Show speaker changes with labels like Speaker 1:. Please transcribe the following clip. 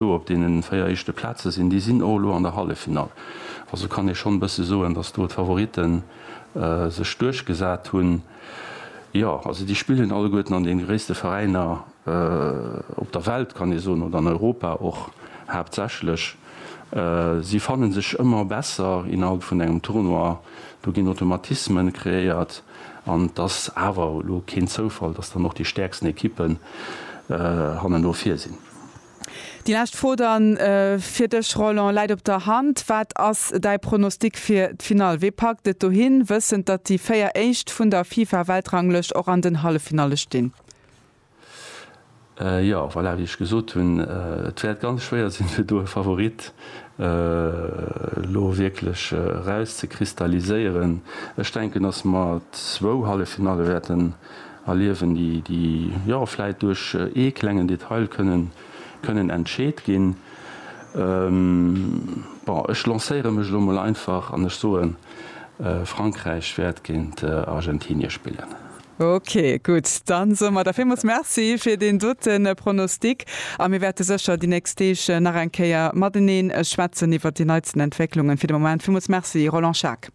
Speaker 1: Elo op deenen 4 éischte Plaze sinn, déi sinn och elo an der Halleffinall. Also kann ee schonn e bësse soen, datt do d'Favoritten sech duerchgesat hunn. Jo, also déi spillen alleguerten an deene gréisste Veräiner op der Welt, kann ee soen, oder an Europa och haaptsächlech. Si fanne sech ëmmer besser innerhalb vun engem Tournoi. Do ginn Automatismen kreéiert an et ass awer elo keen Zoufall, datt dann och déi stäerksten Ekippen hanneno vir sinn.
Speaker 2: Déi lescht Fro dann fir dech, Roland, läit op der Hand. Wat ass däi Pronostic fir d'Finall? Wee packt et dohin, wëssend, datt déi 4 éischt vun der FIFA-Weltranglëscht och an den Halleffinalle stinn?
Speaker 1: Jo, voilà, wéi ech gesot hunn, et wäert ganz schwéier sinn, fir do e Favorit elo wierklech erauszekristalliséieren. Ech denken, datt mer zwou Halleffinalle wäerten erliewen, déi jo vläit duerch ee klengen Detail kënnen kënnen entscheet ginn. Bon, ech lancéiere mech elo mol einfach an ech soen, Frankräich wäert géint Argentinie spillen.
Speaker 2: Ok, gutt, dann soe mer der villmools Merci fir deen dote Pronostic a mir wäerte sécher déi nächst Deeg nach eng Kéier matenee schwätzen iwwert déi neitsten Entwécklungen. Fir de Moment villmools Merci, Roland Schaack.